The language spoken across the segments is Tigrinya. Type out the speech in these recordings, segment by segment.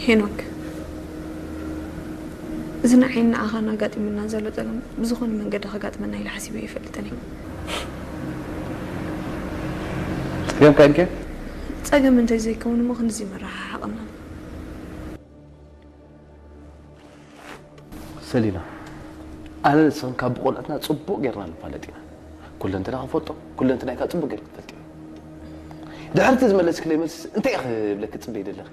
ሄኖክ፣ እዚ ንዓይን ንዓኻን ኣጋጢሙና ዘሎ ጸገም ብዝኾነ መንገዲ ከጋጥመና ኢለ ሓሲበ ኣይፈልጥን እየ። ጸገምካ ኢልካ? ጸገም እንተዘይከውን እሞ ክንድዚ መረሓሓቕና። ሰሊና፣ ኣነ ንስኽን ካብ ብቆልዕትና ጽቡቕ ጌርና ንፋለጥ ኢና። ኩለንትና ክፈልጦ፣ ኩለንትናይ ከኣ ጽቡቕ ጌርካ ትፈልጥ። ድሕርቲ ዝመለስክለይ መልስስ እንታይ ኢኺ ክብለኪ ትጽበይ ዘለኺ?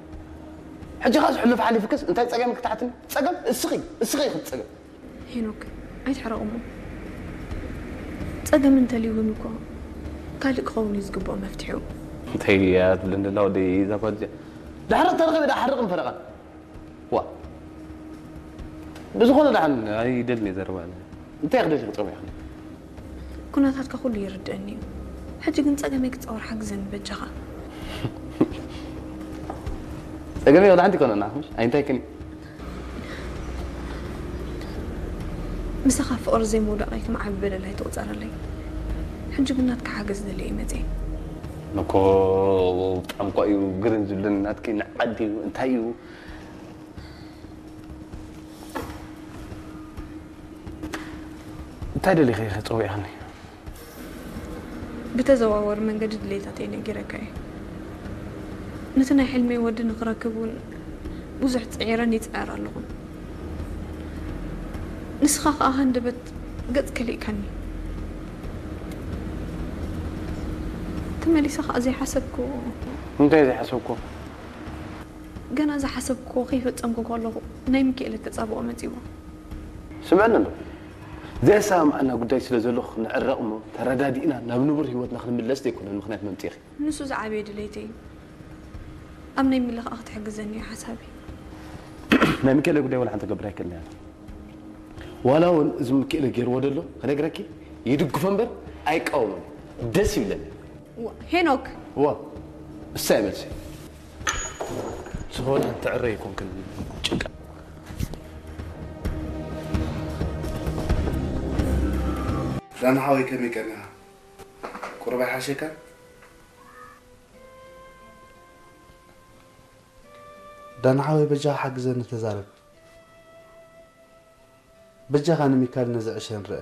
ሕጂ ኸኣ ዝሕሉፍ ሓሊፍክስ እንታይ ጸገም ክትሓትኒ? ጸገም እስኺ፣ እስኺ ኢኺ ጸገም። ሄኖክ፣ ኣይትሕረቕ እሞ። ጸገም እንተልዩ እውን እኮ ካልእ ክኸውን እዩ ዝግብኦ መፍትሒኡ። እንታይ እያ ትብለኒ ዘላ ወደይ እዛ ጓል እዚኣ? ድሕሪ ተረኺበ ዳ ሓርቕን ፈረቓን። ዋ። ብዝኾነ ደሓን ኣይደልን እየ ዘረባ። እንታይ ክደልኺ ክትጸውዒ ኢኺ? ኩነታትካ ኩሉ ይርድአኒ እዩ። ሕጂ ግን ጸገመይ ክጻወር ሓግዘኒ በጃኻ። ጸገመይ ወላ ሓንቲ ይኮነና፣ ምሽ? ኣይንታይክን እዩ? ምሳኻ ፍቕሪ ዘይምውዳቐይ ከም ዓቢ በደል ኣይትቑጸረለይ። ሕጂ ግን ናትካ ሓገዝ ደልየ እየ መጽየ። እኮ ብጣዕሚ እኮ እዩ ግርም ዝብለኒ ናትኪ ንዓዲ እዩ እንታይ እዩ? እንታይ ደሊኺ ኢኺ ጸዊዕኽኒ? ብተዘዋወሪ መንገዲ ድሌታተይ ነጊረካ እየ። ነቲ ናይ ሕልመይ ወዲ ንኽረክብ እውን ብዙሕ ጽዒረን ይጽዕር ኣለኹ። ንስኻ ከኣ ሃንደበት ገጽ ከሊእካኒ። ተመሊሰ ከኣ ዘይሓሰብክዎ። እንታይ ዘይሓሰብክዎ? ገና ዝሓሰብክዎ ከይፈጸምኩ ከለኹ ናይ ሚካኤል ተጻብኦ መጺዎ። ስምዕኒ ኣሎ። ዘየሰማምዓና ጉዳይ ስለ ዘሎ ክንዕረቕ እሞ ተረዳዲእና ናብ ንቡር ህይወትና ክንምለስ ዘይኮነን ምኽንያት መምጽኢኺ። ንሱ ዝዓበየ ድሌተይ እዩ። ኣብ ናይ ሚለ ከኣ ክትሕግዘኒ እዩ ሓሳበይ። ናይ ሚካኤል ጉዳይ ወላ ሓንቲ ክገብር ኣይክእልን እየ። ዋላ እውን እዚ ሚካኤል ገይርዎ ደሎ ክነግረኪ ይድግፎ እምበር ኣይቃወሞን። ደስ ይብለኒ። ዋ፣ ሄኖክ! ዋ፣ እሳ እየ መልሲ። ዝኾነ ትዕረ ይኮንክን ጭንቀ ዳና ሓወይ ከመይ ቀኒኻ? ቁሩብ ኣይሓሸካን? ዳና ሓወይ በጃኻ ሓግዘኒ ተዛረብ። በጃኻ ንሚካል ነዚ ዕሸ ንርአ።